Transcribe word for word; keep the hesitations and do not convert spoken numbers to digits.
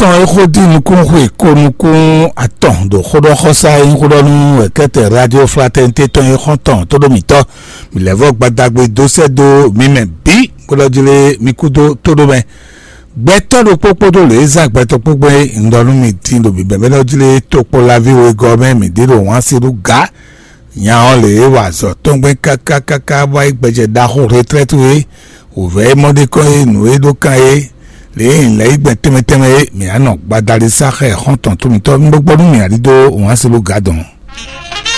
atɔn e xó dín nukún xwe ko nukún atɔn ɖo xóɖɔxɔsá e nyí xóɖɔnú wɛ̌kɛ́tɛn Radio Fraternité tɔn e xɔ́ntɔn tóɖómítɔ́. Mǐ lɛ́ vɔ́ gbadagbe dó sɛ́ dó mi mɛ bǐ, bó ɖɔ jlé mi kú dó tóɖó mɛ. Gbɛtɔ́ ɖokpó kpódó lě e zán gbɛtɔ́ kpó gbɛn un ɖɔ nú mi din ɖo bǐbɛ́bɛ́ ɖɔ jlé tokpɔnlaví wegɔ́ mɛ mǐ ɖe ɖo wǎn se ɖó gǎ. Nya ɔ́ lě e wa azɔ̌ tɔn gbɛn káká káká bɔ é gbɛjɛ ɖaxó retrɛ́tu é, wǒvɛ́ e mɔ ɖ'é kɔn é, nǔ e ɖó kan é, lě e è lɛ̌ yi gbɛn tɛnmɛ tɛnmɛ é, mǐ á nɔ gbadali sá xɛ xɔ́ntɔn tó mitɔ́. Un ɖó gbɔ nú mǐ ǎ ɖidó wǎn se ɖó gǎ dɔn.